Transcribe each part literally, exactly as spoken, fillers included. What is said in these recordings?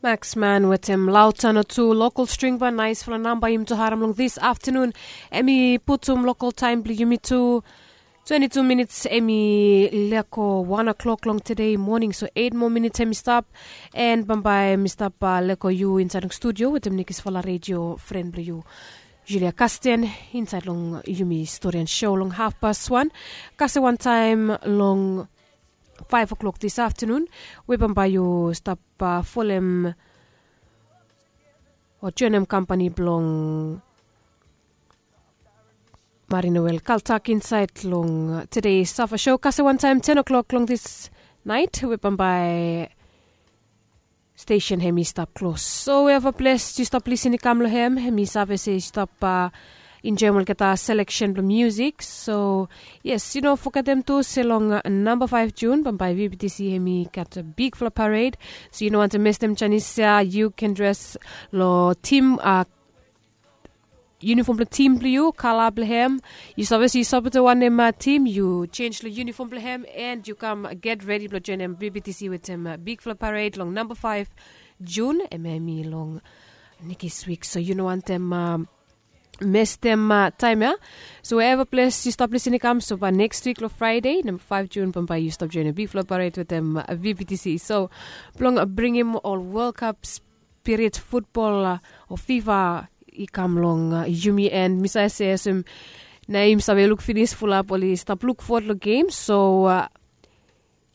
Maxman wetem lautano tu lokol string ba naisfala namba yumi tu harim long this aftanun. Em i putum lokol taim bilong yumi tu twenti tu minits em i leko wan o'clock long tude moning, so eit moa minits em i stap. En bambae em i stap leko yu insait long studio wetem nekisfala redio fren bilong yu, Julia Kasten, insait long yumi stori en show long hafpas wan. Kasem wantaim long five o'clock this aftanun, we bambae yu stap folem o joinim kampani bilong Marinoel Kaltak insait long tude safa show. Kasem wantaim ten o'clock long this night, we bambae stesen hem i stap klos. So we eva ples yu stap lisin i kam long hem, hem i save se yu stap enjoim olgeta seleksen bilong musik. So yes, yu no fogetem tu se long namba five Jun bambae VBTC hem i gat bigfala pared. So yu no wantem mestem janis ya, yu ken dres long tim, yunifom bilong tim bilong yu, kala bilong hem. Yu save se yu sapotem wanem tim, yu jenis long yunifom bilong hem, en yu kam get redi bilong joinim VBTC wetem bigfala pared long namba five Jun, em em i long nekis wik. So yu no wantem mestem taim ya. So we eva ples yu stap lisin i kam, so bai nekis wik long Fraide namba five Jun bambae yu stap joinim bigfala pared wetem VBTC. So bilong bringim ol World Cup spirit futbol o fifa i kam long yumi, en mi save se olsem na yumi save luk finis fulap oli stap luk fot long gem. So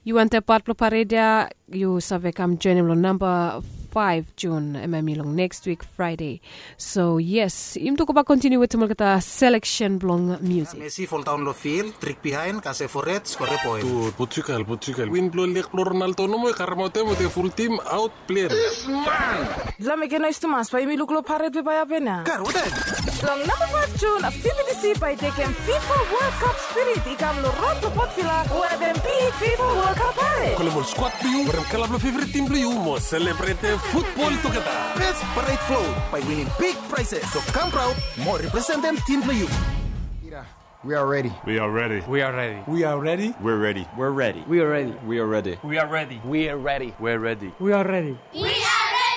yu wantem pat bilong pared ya, yu save kam joinim long namba five Jun, em em i long nekis wik Fraide. So yes, yumi tu go bak kontiniu wetem olgeta seleksen bilong musik. Messi foldaon long fil, trik bihain, kasem fored, skore poen. Portugal, Portugal win bilong lek bilong Ronaldo nomo i karemaot em wetem ful tim aut plen. Lameke nois tumas bai yumi luk long paret we bai hapen ya. Long namba five Jun, VBTC bai tekem fifa World Cup spirit i kam long rod long Port Vila, we hapen big fifa World Cup paret. Kolem ol skwad bilong yu, werem kala bilong fevrit tim bilong yu, mo selebretem futbol tugeta. Best paret float by winning big prizes. So kam praud mo representem tim bilong yu. We are ready. We are ready. We are ready. We are ready. We are ready. We are ready. We are ready. We are ready. We are ready. We are ready. We are ready. We are ready.